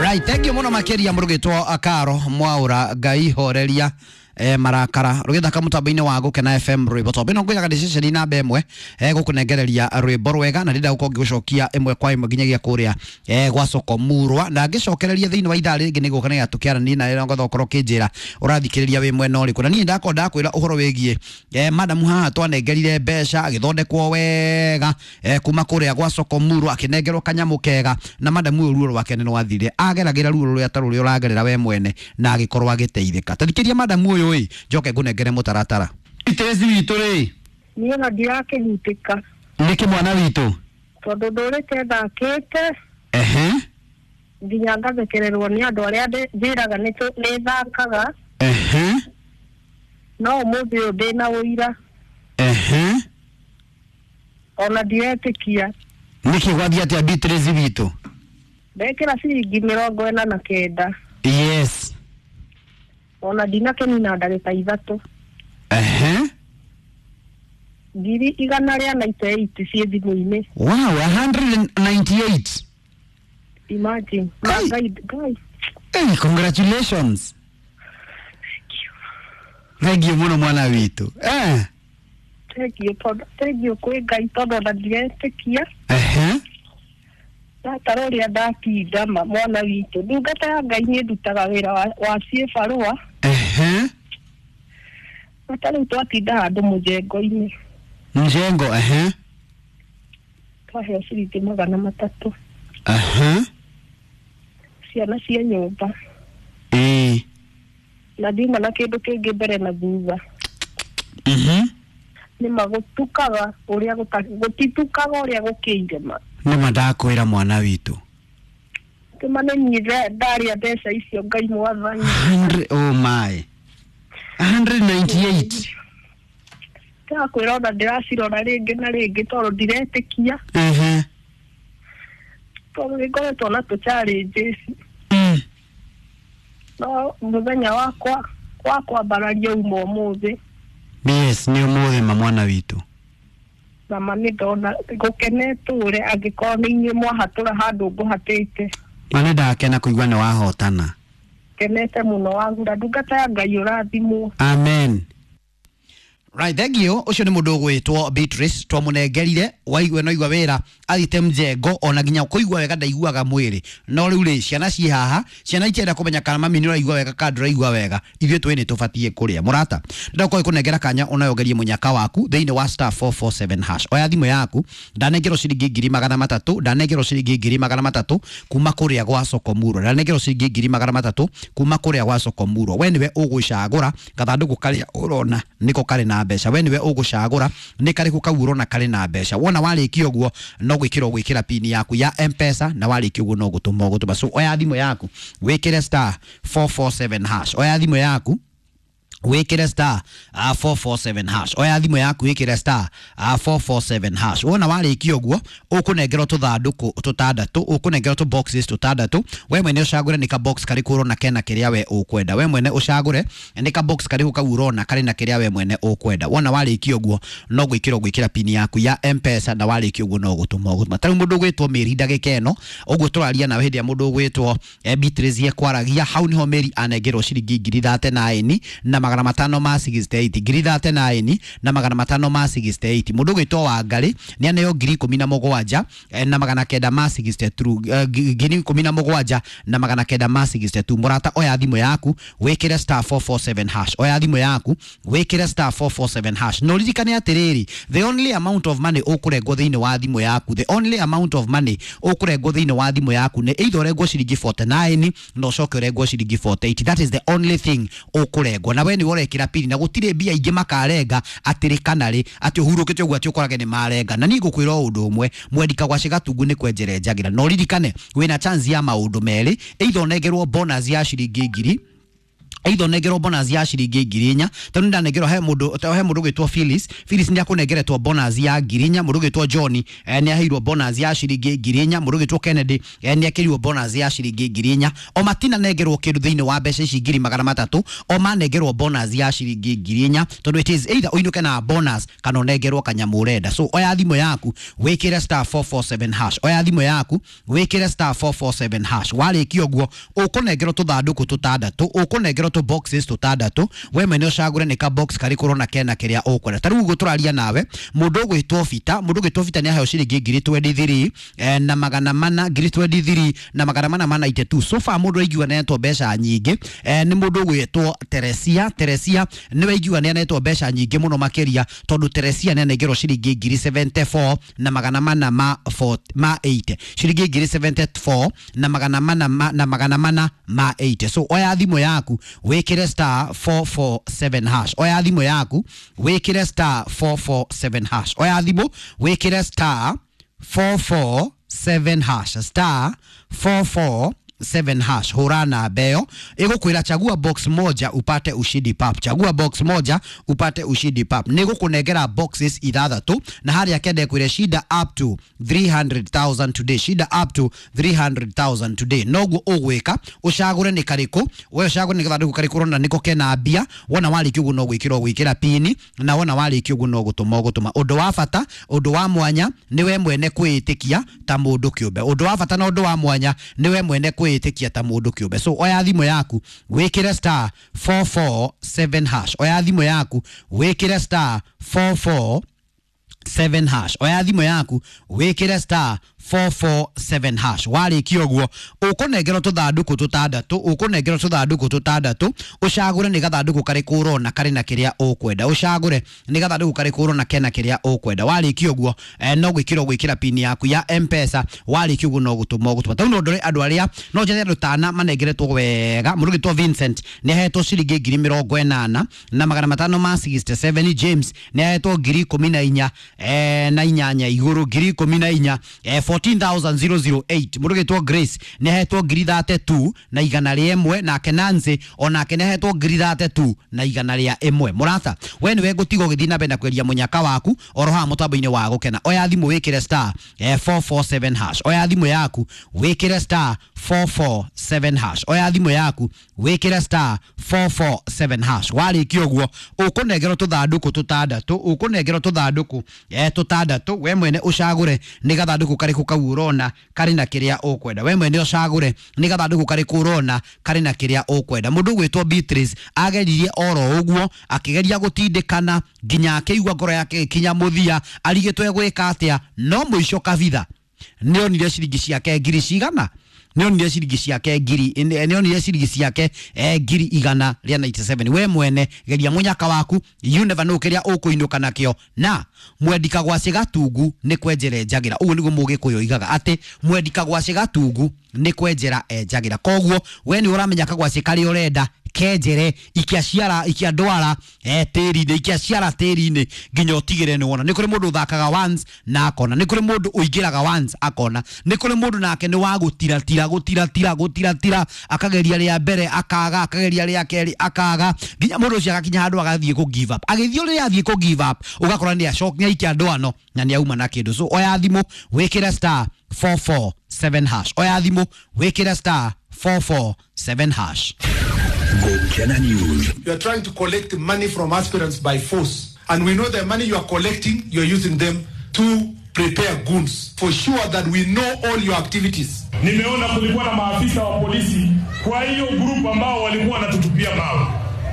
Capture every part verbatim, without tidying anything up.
Right, thank you muno makiria murugitwo akaro mwaura Ngai horeria eh, marakara rugithaka mutambo-inĩ wa Gũkena F M rwĩmbo tondũ ĩno ngwĩraga nĩ ceceni namba ĩmwe eh, gũkũnengereria rwĩmbo rwega na ndĩrenda gũkorwo ngĩgũcokia ĩmwe kwa ĩmwe nginyagia kũrĩa eh, gwa soko murwa na ngĩcokereria thĩinĩ wa ithaa rĩngĩ nĩgũka nĩgetha tũkĩaranie nawe na ngetha ũkorwo ũkĩnjĩra ũrathikĩrĩria wĩ mwena ũrĩkũ. Na niĩ ndakorwo ndakwĩra ũhoro wĩgiĩ eh, madamu haha twanengerire mbeca agĩthondekwo wega eh, kuma kũrĩa gwa soko murwa akĩnengerwo kanyamũ kega na madamu ũyũ ruo rwake nĩ rwathire ageragĩra ruo rũrĩa ta rũrĩa ũragerera we mwene na agĩkorwo agĩteithĩka. Tathikĩria madamu ũyũ ĩ njoke ngũnengere mũtaratara. Itezi witũ rĩ niĩ ona ndirakĩhutĩka nĩkĩ mwana witũ tondũ ndũrĩte thakĩte ehe nginya ngathekererwo nĩ andũ arĩa njĩraga nĩ thakaga ehe no ũmũthĩ ũyũ ndĩna ũira ehe ona ndiretĩkia. Nĩkĩ gwathiĩ atĩa Beatrice witũ? Ndekĩra ciringi mĩrongo ĩna na kenda. Yes. Ona ndinakĩnina ndagĩka ithatũ. Ehe. Ngiri igana rĩa ninety eight ciĩ thimũ-inĩ. Wow, a hundred ninety eight. Imagine. Hey. Ngai, Ngai. Hey, congratulations. Thank you. Thank you mũno mwana witũ. Eh. Thank you tondũ thank you kwĩ Ngai tondũ ona ndiretĩkia. Ehe. Ndatara ũrĩa ndatinda ma mwana witũ ndungata ya Ngai nĩ ndutaga wĩra wa, wa ciĩbarũa. Ehe. Bata rĩu twatinda handũ mũjengo-inĩ. Mjengo, ehe. Twaheo ciringi magana matatũ. Ehe. Ciana cia nyũmba. Ĩĩ. Na ndiuma na kĩndũ kĩngĩ mbere na thutha. Mhm. Nĩma gũtukaga ũrĩa gũtitukaga ũrĩa gũkĩire ma. Nĩma ndakwĩra mwana witũ. Kĩma nĩ niĩ ndarĩa mbeca icio Ngai mwathani. Oh my. a hundred ninety eight. Ndakwĩra ona ndĩracirora rĩngĩ na rĩngĩ tondũ ndiretĩkia. Ehe. Tondũ nĩngoretwo na tũ challenges. Mm. No mũthenya wakwa wa kwambararia uma ũmũthĩ. Yes, nĩ ũmũthĩ ma mwana witũ. Na ma nĩ ndona gũkenetũre angĩkorwo nĩ inyuĩ mwahatũra handũ ngũhatĩte. Ma nĩ ndakena kũigua nĩ wahotana. Kenete mũno wagura ndungata ya Ngai ũrathimwo. Amen. Right, thank you. Ũcio nĩ mũndũ ũgwĩtwo Beatrice twamũnengerire waigua no igua wĩra athite mjengo ona nginya kũigua wega ndaiguaga mwĩrĩ no rĩu rĩ ciana ciĩ haha ciana itienda kũmenya kana mami nĩ ũraigua wega kana ndũraigua wega ithuĩ twĩ nĩ tũbatiĩ kũrĩa mũrata ndĩrakorwo ĩkũnengera kanya onawe ũgerie mũnyaka waku thĩinĩ wa star four four seven hash oya thimũ yaku ndanengerwo ciringi ngiri magana matatũ ndanengerwo ciringi ngiri magana matatũ kuma kũrĩa gwa soko murwa ndanengerwo ciringi ngiri magana matatũ kuma kũrĩa gwa soko murwa we nĩwe ũgũcagũra gathandũkũ karĩa ũrona nĩko karĩ na mbeca we nĩwe ũgũcagũra nĩ karĩkũ kau ũrona karĩ na mbeca wona warĩkia ũguo no gwĩkĩra ũgwĩkĩra pin yaku ya M-Pesa na warĩkia ũguo no gũtũma ũgũtũma so oya thimũ yaku wĩkĩre star four four seven hash oya thimũ yaku wĩkĩre star uh, four four seven hash oya thimũ yaku wĩkĩre star uh, four four seven hash wona warĩkia ũguo ũkũnengerwo tũthandũkũ tũtandatũ ũkũnengerwo tũ boxes tũtandatũ we mwene ũcagũre nĩ ka box karĩkũ ũrona kena kĩrĩa we ũkwenda we mwene ũcagũre nĩ ka box karĩkũ kau ũrona karĩ na kĩrĩa we mwene ũkwenda wona warĩkia ũguo no gwĩkĩra ũgwĩkĩra pin yaku ya M-Pesa na warĩkia ũguo no gũtũma ũgũtũma ta rĩu mũndũ ũgwĩtwo Mary ndagĩka ĩno ũguo tũraria nawe hĩndĩ ĩrĩa mũndũ ũgwĩtwo Beatrice ekwaragia hau nĩho Mary anengerwo ciringi ngiri thate na ĩni na magana matano ma sixty eight ngiri thate na ĩni na magana matano ma sixty eight mũndũ ũgwĩtwo Wangarĩ nĩ aneo ngiri ikũmi na mũgwanja na magana kenda ma sixty two ngiri ikũmi na mũgwanja na magana kenda ma sixty two mũrata oya thimũ yaku wĩkĩre star four four seven hash oya thimũ yaku wĩkĩre star four four seven hash na ũririkane atĩrĩrĩ the only amount of money ũkũrengwo thĩinĩ wa thimũ yaku the only amount of money ũkũrengwo thĩinĩ wa thimũ yaku nĩ either ũrengwo ciringi forty nine na ũcoke ũrengwo ciringi forty eight that is the only thing ũkũrengwo na we nĩ ũrekĩra pini na gũtirĩ mbia ingĩ makarenga atĩrĩ kana rĩ atĩ ũhurũkĩte ũguo atĩ ũkorage nĩ marenga na niĩ ngũkwĩra o ũndũ ũmwe mwendika gwa Cigatungu nĩ kwenjere njagĩra na ũririkane wĩna chance ya maũndũ merĩ either ũnengerwo bonus ya ciringi ngiri Either ũnengerwo bonus ya ciringi ngiri inya, tondũ ndanengerwo he mũndũ he mũndũ ũgwĩtwo Phyllis. Phyllis nĩ akũnengeretwo bonus ya ngiri inya. Mũndũ ũgwĩtwo John eh, nĩ aheirwo bonus ya ciringi ngiri inya. Mũndũ ũgwĩtwo Kennedy eh, nĩ akĩrirwo bonus ya ciringi ngiri inya. O matinanengerwo kĩndũ thĩinĩ wa mbeca ici ngiri magana matatũ, o manengerwo bonus ya ciringi ngiri inya, tondũ it is either ũinũke na bonus kana ũnengerwo kanyamũ ũrenda. So oya thimũ yaku wĩkĩre star four four seven hash, oya thimũ yaku wĩkĩre star four four seven hash. Warĩkia ũguo ũkũnengerwo tũthandũkũ tũtandatũ, ũkũnengerwo tũ boxes tũtandatũ, we mwene ũcagũre nĩ ka box karĩkũ ũrona kena kĩrĩa ũkwenda. Ta rĩu ũguo tũraria nawe, mũndũ ũgwĩtwo Bita, mũndũ ũgwĩtwo Bita nĩ aheo ciringi ngiri twenty three eh, na magana mana, ngiri twenty three na magana mana ma ninety two. So far mũndũ aigua nĩ mbeca nyingĩ eh, nĩ mũndũ ũgwĩtwo Teresia. Teresia nĩwe aigua nĩ anetwo mbeca nyingĩ mũno makĩria, tondũ Teresia nĩ anengerwo ciringi ngiri seventy four na magana mana ma four, ma eight, ciringi ngiri seventy four na magana mana ma, na magana mana ma eight. So oya thimũ yaku wĩkĩre star four four seven hash, oya thimũ yaku wĩkĩre star four four seven hash, oya thimũ wĩkĩre star four four seven hash, star four four seven hash. Hũra namba ĩyo ĩgũkwĩra chagua box moja upate ushindi pap, chagua box moja upate ushindi pap. Nĩ gũkũnengera boxes ithathatũ, na harĩa kende kwĩre shinda up to three hundred thousand today, shinda up to three hundred thousand today. Noguo ũgwĩka ũcagũre nĩ karĩkũ, we ũcagũre nĩ gathandũkũ karĩkũ ũrona nĩko kena mbia. Wona warĩkia ũguo no gwĩkĩra ũgwĩkĩra pini, na wona warĩkia ũguo no gũtũma ũgũtũma. Ũndũ wa bata, ũndũ wa mwanya nĩ we mwene kwĩĩtĩkia ta mũndũ kĩũmbe. Ũndũ wa bata na ũndũ wa mwanya nĩ we mwene kwĩĩtĩkia ta mũndũ kĩũmbe. So oya thimũ yaku wĩkĩre star four four seven hash, oya thimũ yaku wĩkĩre star four four seven hash, oya thimũ yaku wĩkĩre star four four seven hash. Warĩkia ũguo ũkũnengerwo tũthandũkũ tũtandatũ, ũkũnengerwo tũthandũkũ tũtandatũ, ũcagũre nĩ gathandũkũ karĩkũ ũrona karĩ na kĩrĩa ũkwenda, ũcagũre nĩ gathandũkũ karĩkũ ũrona kena kĩrĩa ũkwenda. Warĩkia ũguo eh, no gwĩkĩra ũgwĩkĩra pini yaku ya M-Pesa. Warĩkia ũguo no gũtũma ũgũtũma. Tau no ndore andũ arĩa no njethe andũ tana manengeretwo wega. Mũndũ ũgwĩtwo Vincent nĩ ahetwo ciringi ngiri mĩrongo ĩnana na magana matano ma sixty seven. James nĩ ahetwo ngiri ikũmi na inya eh, na inyanya igũrũ, ngiri ikũmi na inya eh, fourteen thousand zero zero eight. Mũndũ ũgwĩtwo Grace nĩ ahetwo ngiri thate tu na igana rĩa ĩmwe, nake Nancy onake nĩ ahetwo ngiri thate tu na igana rĩa ĩmwe. Mũrata, we nĩwe ngũtiga ũgĩthiĩ na mbere na kweria mũnyaka waku oro haha mũtambo-inĩ wa gũkena. Oya thimũ wĩkĩre star eh, four four seven hash, oya thimũ yaku wĩkĩre star four four seven hash, oya thimũ yaku wĩkĩre star four four seven hash. Warĩkia ũguo ũkũnengerwo tũthandũkũ tũtandatũ, ũkũnengerwo tũthandũkũ eh, tũtandatũ, we mwene ũcagũre nĩ gathandũkũ karĩkũ kau ũrona karĩ na kĩrĩa ũkwenda. We mwene ũcagũre nĩ gathandũkũ karĩkũ ũrona karĩ na kĩrĩa ũkwenda. Mũndũ ũgwĩtwo Beatrice ageririe oro ũguo, akĩgeria gũtindĩkana nginya akĩigua ngoro yake ĩkinya mũthia, arigĩtwo egwĩka atĩa, no mũico kabitha nĩ onire ciringi ciake ngiri cigana, nĩ onire ciringi ciake ngiri, nĩ onire ciringi ciake eh, ngiri igana rĩa ninety seven. We mwene geria mũnyaka waku, you never know kĩrĩa ũkũinũka nakĩo. Na mwendi kagwacĩ gatungu nĩ kwenjera enjagĩra, ũguo nĩguo mũgĩkũyũ oigaga atĩ mwendi kagwacĩ gatungu nĩ kwenjera enjagĩra. Koguo we nĩ ũramenya kagwacĩ karĩa ũrenda kenjere, ikia ciara, ikia ndwara eh, tĩri-inĩ, ikia ciara tĩri-inĩ nginya ũtigĩre nĩ wona. Nĩ kũrĩ mũndũ ũthakaga once na akona, nĩ kũrĩ mũndũ ũingĩraga once akona, nĩ kũrĩ mũndũ nake nĩ wa gũtiratira gũtiratira gũtiratira, akageria rĩa mbere akaga, akageria rĩa kerĩ akaga, nginya mũndũ ũcio agakinya handũ agathiĩ kũ give up. Agĩthiĩ rĩrĩa athiĩ kũ give up, ũgakora nĩ acoka nĩ aikia ndwano na nĩ auma na kĩndũ. So oya thimũ wĩkĩre star four four seven hash, oya thimũ wĩkĩre star four four seven hash. Gokena News. You are trying to collect money from aspirants by force. And we know the money you are collecting, you are using them to prepare goons. For sure that we know all your activities. Nimeona kulikuwa na maafisa wa polisi kwa hiyo group ambao walikuwa wanatutupia mawe.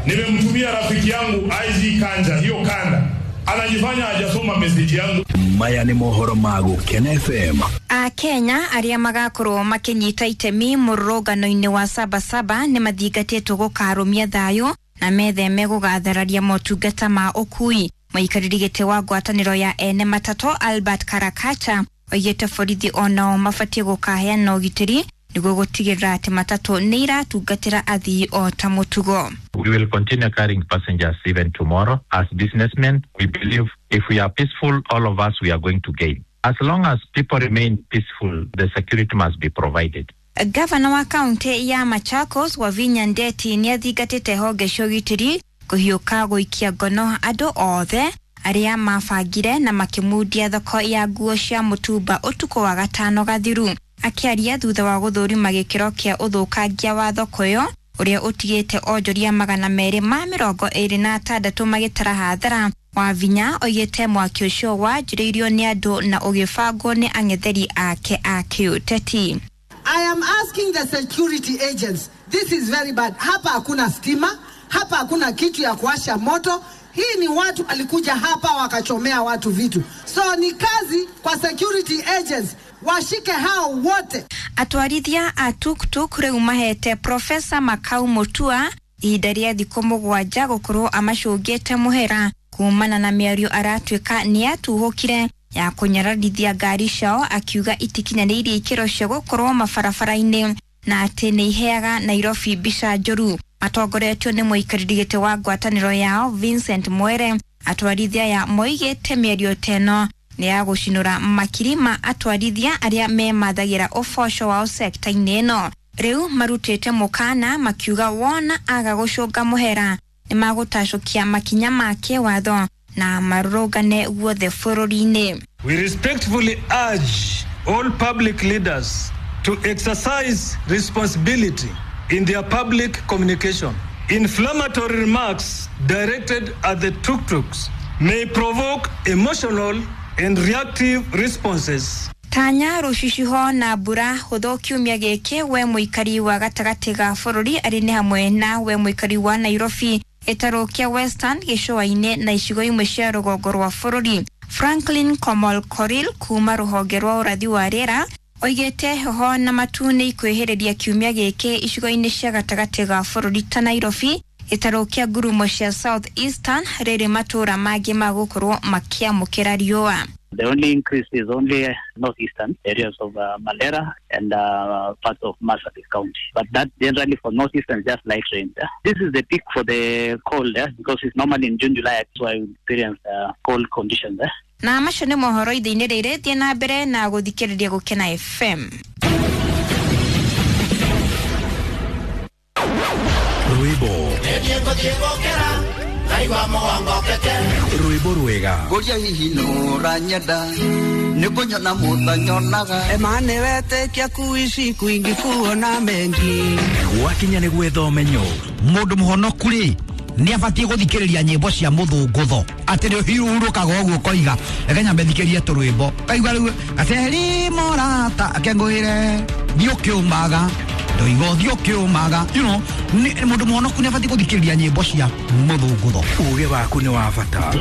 Nimemtumia rafiki yangu I G Kanja, hiyo kanda. Anajifanya hajasoma message yangu. Maya ni mohoro ma Gokena F M. A Kenya aria magakorwo makinyita itemi mururungano-inĩ wa Sabasaba nĩ mathingatĩtwo gũkarũmia thayũ na metheme gũgathararia motungata ma ũkui. Mũikarĩri gĩtĩ wa ngwatanĩro ya ene matatũ Albert Karakacha oigĩte borithi onao mabatiĩ gũkaheana ũgitĩri nĩguo gũtigĩrĩra atĩ matatũ nĩ iratungatĩra athii o ta mũtugo. We will continue carrying passengers even tomorrow. As businessmen, we believe if we are peaceful, all of us, we are going to gain. As long as people remain peaceful, the security must be provided. Gavana wa kaunti ya Machakos Wavinya Ndeti nĩathingatĩte honge cia ũgitĩri kũhiũka gũikia ngono andũ othe arĩa mabangire na makĩmundia thoko ya nguo cia mũtumba ũtukũ wa gatano gathiru. Akĩaria thutha wa gũthũrima gĩkĩro kĩa ũthũkangia wa thoko ĩyo ũrĩa ũtigĩte onjoria magana merĩ ma mĩrongo ĩrĩ na atandatũ magĩtara hathara, Wavinya oigĩte mwaki ũcio wanjĩrĩirio nĩ andũ na ũgĩbangwo nĩ ang'etheri ake a kĩũteti. I am asking the security agents, this is very bad. Hapa hakuna stima, hapa hakuna kitu ya kuwasha moto. Hii ni watu walikuja hapa wakachomea watu vitu. So ni kazi kwa security agents washike hao wote. Atwarithia a tuktuk rĩu mahete Profesa Makau Mutua ihinda rĩa thikũ mũgwanja gũkorwo amacũngĩte mũhera kumana na mĩario aratuĩka nĩatuhũkire ya kũnyararithia ngari ciao, akiuga itikinyanĩirie ikĩro cia gũkorwo mabarabara-inĩ na atĩ nĩ iheaga Nairobi mbica njũru. Matongoretio nĩ mũikarĩri gĩtĩ wa ngwatanĩro yao Vincent Mwere, atwarithia ya moigĩte mĩario ta ĩno nĩ ya gũcinũra makiri ma atwarithia arĩa memathagĩra ũboco wao sekta-inĩ ĩno. Rĩu marutĩte mũkana makiuga wona aga gũcũnga mũhera nĩ magũtacũkia makinya ma kĩwatho na marũrũngane guothe bũrũri-inĩ. We respectfully urge all public leaders to exercise responsibility in their public communication. Inflammatory remarks directed at the tuk-tuks may provoke emotional and reactive responses. Tanya rũcicio na mbura hũthũ kiumia gĩkĩ we mũikari wa gatagatĩ ga bũrũri arĩ nĩ hamwe na we mũikari wa Nairobi, gĩtarũ kĩa Western, gĩcũa-inĩ na icigo imwe cia rũgongo rwa bũrũri. Franklin Komol Koril kuma rũhonge rwa ũrathi wa rĩera oigĩte heho na matu nĩ ikwĩhĩrĩria kiumia gĩkĩ icigo-inĩ cia gatagatĩ ga bũrũri ta Nairobi, gĩtarũ kĩa ngurumo cia South Eastern, rĩrĩ matũũra mangĩ magũkorwo makĩamũkĩra riũa. The only increase is only northeastern areas of uh, Mandera and uh, parts of Marsabit County. But that generally for northeastern is just light rain. Eh? This is the peak for the cold, eh? Because it's normally in June, July, so I experience uh, cold conditions. Eh? Na macio nĩ mohoro ithe-inĩ rĩrĩ, thiĩ na mbere na gũthikĩrĩria Gũkena F M. Rwĩmbo rwĩmbo rwega ngũria hihi nũranyenda nĩ kũnyona mũtanyonaga emane wetĩkia kuishi kwingi kuona mengi gwakinya nĩ gwetha ũmenyo. Mũndũ mũhonoku rĩ nĩ abatiĩ gũthikĩrĩria nyĩmbo cia mũthũngũtho atĩ nĩ ũhurũkaga ũguo ũkoiga reke nyambe thikĩrie tũrwĩmbo kaigua rĩu gaceri morata akengũĩre thiĩ ũkĩũmaga ndoiga ũthiĩ ũkĩũmaga, you know, mũndũ mũhonoku nĩ abatiĩ gũthikĩrĩria nyĩmbo cia mũthũngũtho. Uge waku nĩ wa bata.